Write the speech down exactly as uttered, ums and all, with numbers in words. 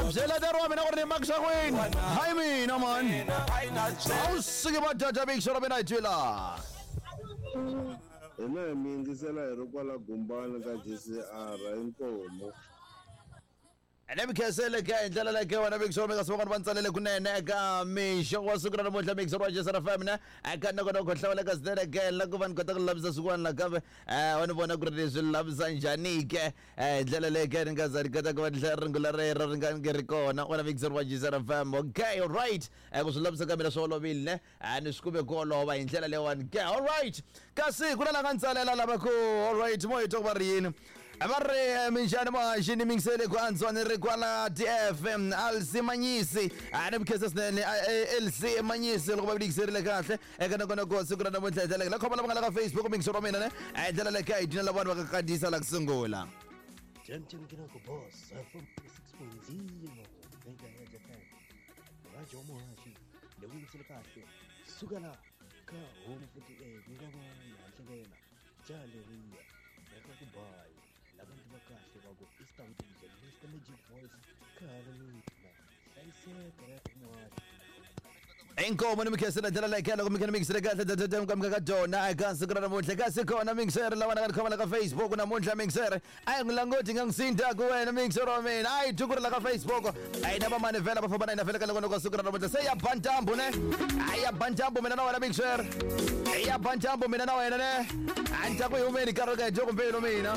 Byela tero wa mina ku ri ni makisa kwini. Hayi mina man. A wu suki va jaja mixer wa mina hi twela. Hina hi mi yingisela hi ri kwala Gumbani ka G C R, inkomu. Ene mi khensele ka hi ndlela leyi wena mixer mi nga sivona va ntsalele kunene eka mixo wa siku ra namuntlha, mixer wa J C R F M ne eka nongonoko hlawuleka swinene ke la ku va ni kota ku lulamisa swin'wana nakambe. um wa ni vona ku ri ni swi lulamisa njhani ke hi ndlela leyi ke ni nga za ni kota ku va ni hlaya rungula rero ri nga nge ri kona wena mixer wa J C R F M. Okay, alright, um ku swi lulamisa ka mina swi olovile ne a ni swi kume ku olova hi ndlela leyiwani ke. Alright, kasi ku na la nga ntsalela lava ku alright mo hi twa ku va ri yini. Va ri minjhani muhaxi, ni mingisele ku antswa, ni ri kwala D F Alc Manyisi. A ni mikhensa swinene L C Manyisi loko va yingiserile kahle eka nongonoko siku ra namuntlha hi ndlela la khoma lava nga la ka Facebook mingiselo wa mina ne hi ndlela leyi ka hi dyina lava vanhu va ka kandziyisa la ku sungula. Jam Jam Kinako Boss F M six point zero Megahertz F M, Rajo Muhashi lewingisile kahle suka la ka Home forty-eight nga va hlanhlelela ja leriya eka ku bayi labantu va kahle va ku Istanbul Mister Magic Voice khale mina hlayiseka ya Muhashi. Inkomo, ni mikhensela ndlela leyi loko mi kha ni mingisele kahle ka ka dyona eka siku ra namuntlha. Kasi kona mingisere lava nga ni khoma la ka Facebook namuntlha, mingisere a hi n'wi languti nga n'wi sindaku wena mingisere wa mina a hi tukuri la ka Facebook a yi na vamani vhela va famba na hina vhele ka loko ka siku ra namuntlha se ya ba ntambu ne a ya ba ntambu mina na wena mingisere ya ba ntambu mina na wena ne a ni ta ku hi humeni karhi ka hi dyo kumbe mina.